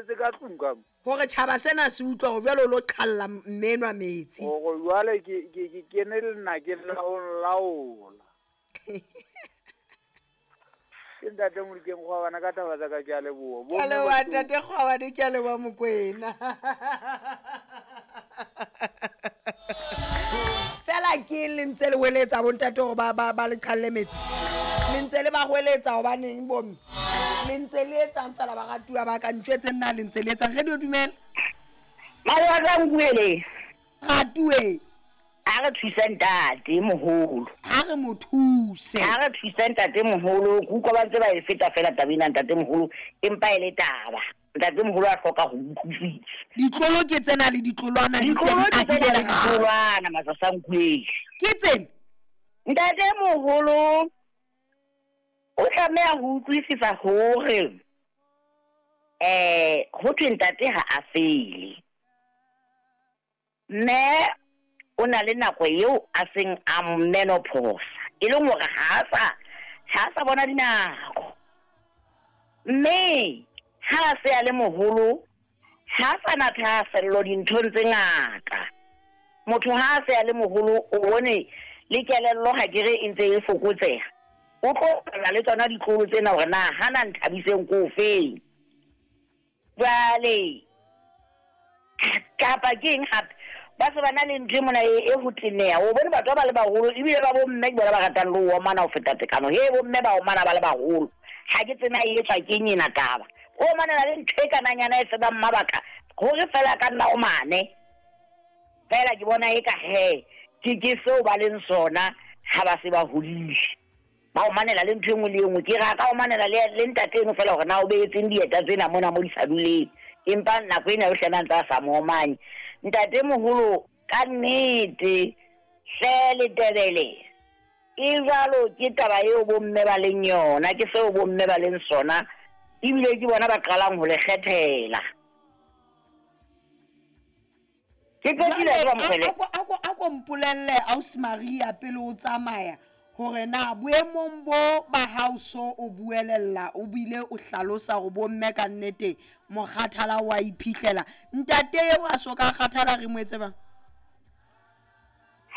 boletse ka tlung ka mo. Hore tjhaba sena se utlwa hore jwale o lo qhalla mme enwa metsi. Hore jwale ke ke ke kene lenakeng la ho nlaola. Ke ntate Modikeng Kgwabana ka taba tsa ka ke a leboha. Ke a leboha ntate Kgwabane, ke a leboha Mokwena. Fela ke eng le ntse le hweletsa bontate hore ba ba ba le qhalle metsi? Le ntse le ba hweletsa hobaneng bomme? Le ntse le etsang fela baratuwa ba ka ntjwetseng na le ntse le etsang? Radio dumela. Malwatsa nkuele. Ratuwe. A re thuse ntate moholo. Ha re mo thuse. Ha re thuse ntate moholo. Ke utlwa ba ntse ba e feta fela taba ena ntate moholo, empa e le taba. Ntate moholo a hloka ho utlwisisa. Ditlolo ke tsena le ditlolwana di se Ditlolo di ke tsena ahile le lerako. ditlolwana Masasankweng. Ke tsena. Ntate moholo o tlameha ho utlwisisa hore eh ho thwe ntate ha a fele. Mme o na le nako eo a seng a menopause, e leng hore ha a sa ha a sa bona dinako. Mme ha a se a le moholo, ha a sa na thahasello dinthong tse ngata. Motho ha a se a le moholo o bone le kelello ha ke re e ntse e fokotseha. O tlo bala le tsona ditlolo tsena hore na hana Nthabiseng ko feng. Jwale kapa ke eng hape ba se ba na le ntho e mona e e ho teneha o bone batho ba ba le baholo ebile ba bomme ke bona ba ratang le ho omana ho feta tekano he bomme ba omana ba le baholo ha ke tsena e etswa ke eng ena taba o omanela le ntho e kananyana e senang mabaka hore fela ka nna omane fela ke bona e ka he ke ke seo ba leng sona ha ba se ba hodile Ba omanela le ntho e nngwe le e nngwe. Ke re a ka omanela le, le ntate eno fela hore na o behetseng dieta tsena mona mo di sa duleng. Empa nako ena yohle na ntse a sa mo omanye. Ntate moholo, ka nnete, hle Letebele, e jwalo ke taba eo bomme ba leng yona, ke seo bomme ba leng sona, ebile ke bona ba qalang ho le kgethela. Ke qetile Jwale jwang Mokgwele? a ko a ko a ko mpolelle ausi Maria pele o tsamaya hore na boemong bo ba hao so o buelella o bile o hlalosa hore bomme ka nnete mokgathala wa iphihlela. Ntate eo a so ka kgathala re mo etse bang?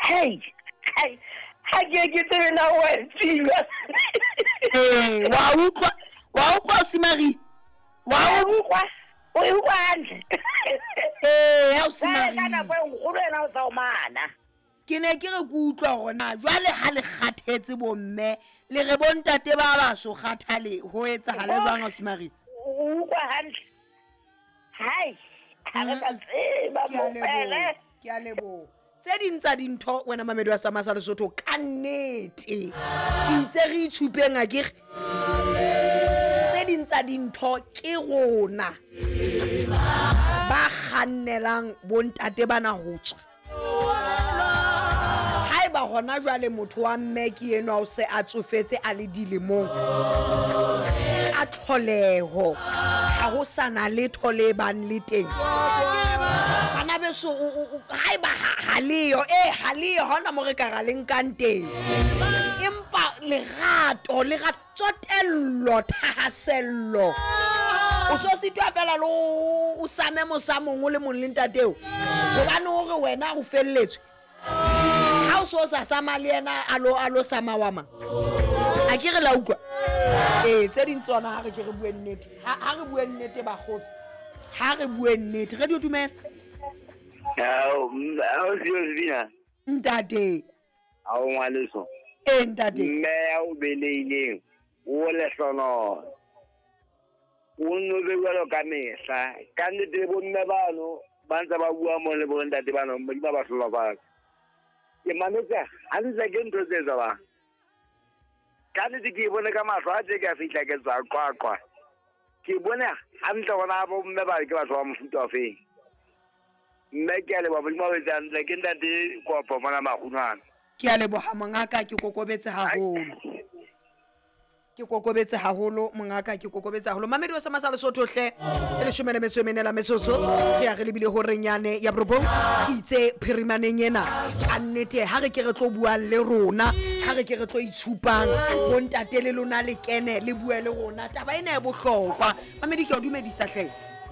Hei, hei, ha ke ke tsebe na wa tseba. Ee, wa utlwa wa utlwa ausi Maria? Wa utlwa? O e utlwa hantle? Ee, ausi Jwale ka Maria. nako e nkgolo ena o sa o mana. Ke ne ke re ke utlwa hore na jwale ha le kgathetse bomme le re bontate ba baso kgathale ho etsahale jwang ausi Maria? O utlwa hantle? Hai, ha re sa tseba Ke a leboha, mopele. ke a leboha. Tse ding tsa dintho wena mamedi wa Sama sa Lesotho ka nnete. Ke itse re itshupeng akere. Tse ding tsa dintho ke rona ba kgannelang bontate bana ho tswa. Haeba hona jwale motho wa mme ke enwa o se a tsofetse a le dilemong a tlholeho ha ho sa na letho le bang le teng bana beso haeba ha leyo ee ha leyo ha hona mo re ka ra le nkang teng empa lerato lerato tsotello thahasello o so sitwa fela le o same mosamong o le mong le ntateo hobane hore wena o felletswe ha o so sa sama le yena a lo a lo sama wa mang a ke re la utlwa ee tse ding tsona ha re ke re bue nnete ha ha re bue nnete bakgotsi ha re bue nnete radio dumela Ao, ao sio Sebina. ntate Ao ngwaneso. Ee ntate. Mme ya o belehileng o lehlonono. O nno be jwalo ka mehla. Ka nnete bomme bano ba ntse ba bua mo le bontate bano Modimo a ba hlohonolofatse. Ke mametse hantle ke ntho tse etsahalang. Ka nnete ke e bone ka mahlo a tje ke a fihla ke tswa Qwaqwa. Ke bone hantle hore na bomme ba ke batho ba mofuta ofeng. Mme ke a leboha Modimo a o etse hantle. Ke ntate Kopo mona Makgunwana. Ke a leboha mongaka ke kokobetse haholo. Ke kokobetse haholo mongaka ke kokobetse haholo. Mamedi wa Sama sa Lesotho hle e leshome le metso e mene la metsotso re ya re lebile horeng yane ya borobong. Ke itse phirimaneng ena ka nnete ha re ke re tlo buang le rona ha re ke re tlo itshupang bontate le lona le kene le bue le rona taba ena e bohlokwa. Mamedi ke a o dumedisa hle.